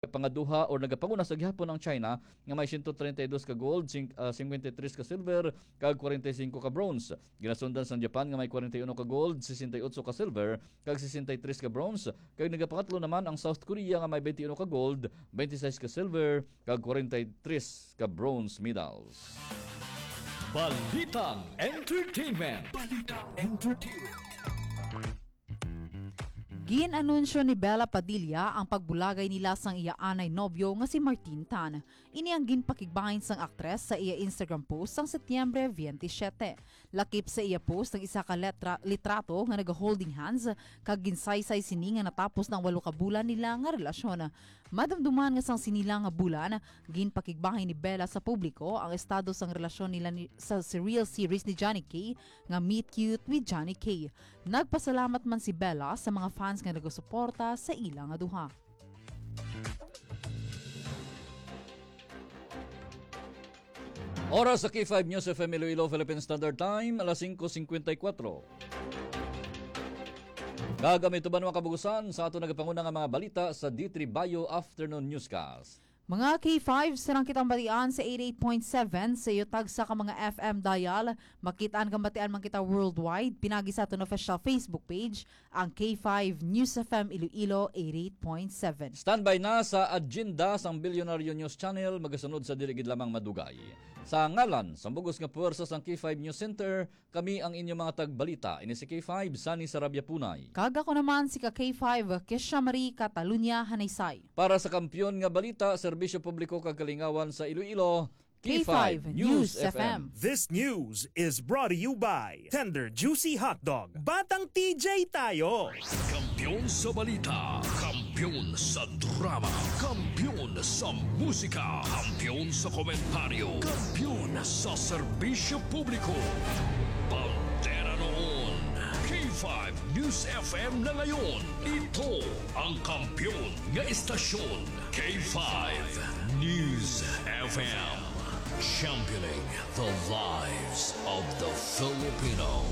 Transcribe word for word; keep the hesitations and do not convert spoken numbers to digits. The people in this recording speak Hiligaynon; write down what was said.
Pangaduha or nagapanguna sa gihapon ang China nga may siyento treinta y dos ka gold, sing-, ah, cincuenta y tres ka silver, kag kwarenta y singko ka bronze. Ginasundan sang Japan nga may kwarenta y uno ka gold, sesenta y otso ka silver, kag sesenta y tres ka bronze. Kag nagapangatlo naman ang South Korea nga may twenty-one ka gold, twenty-six ka silver, kag kwarenta y tres ka bronze medals. Balitang Entertainment. Balitang Entertainment. Gin-anunsyo ni Bella Padilla ang pagbulagay nila sang iya anay nobyo nga si Martin Tan. Ini ang ginpakigbahin sang aktres sa iya Instagram post sang Setyembre twenty-seven. Lakip sa iya post ang isa ka letra, litrato nga naga-holding hands, kag ginsaysay sini nga natapos na ang walo ka bulan nila nga relasyon. Madumduman nga sang sini lang nga bulan, ginpakigbahin ni Bella sa publiko ang estado sang relasyon nila ni, sa Surreal series ni Johnny K nga Meet Cute with Johnny K. Nagpasalamat man si Bella sa mga fans nga nagasuporta sa ila nga duha. Oras sa K five News F M Iloilo, Philippine Standard Time, alas singko singkwenta y kuwatro. Kag amo ito ba, mga kabugusan, sa ato nagapanguna nga mga balita sa D three Bio Afternoon Newscast. Mga K five, sarang kitang batian sa eighty-eight point seven sa iyo tagsa ka mga F M dial. Makit-an kag batian man kita worldwide, pinagi sa aton official Facebook page, ang K five News F M Iloilo eighty-eight point seven. Standby na sa agenda sang Bilyonaryo News Channel, magasunod sa dili gid lamang madugay. Sa ngalan sang bugos nga puwersa sang K five News Center, kami ang inyo mga tagbalita, ini si K five, Sunny Sarabia Punay. Kag ako naman si ka K five, Kesha Marie Catalunya Hanaysay. Para sa Kampiyon nga Balita, Serbisyo Publiko kag Kalingawan sa Iloilo, K five News F M. This news is brought to you by Tender Juicy Hotdog. Batang T J tayo! Kampiyon sa balita, kampiyon sa drama, kampiyon sa musika, kampiyon sa komentaryo, kampiyon sa serbisyo publiko. Bandera noon, K five News F M na ngayon. Ito ang kampiyon nga istasyon. K five News F M, championing the lives of the Filipino.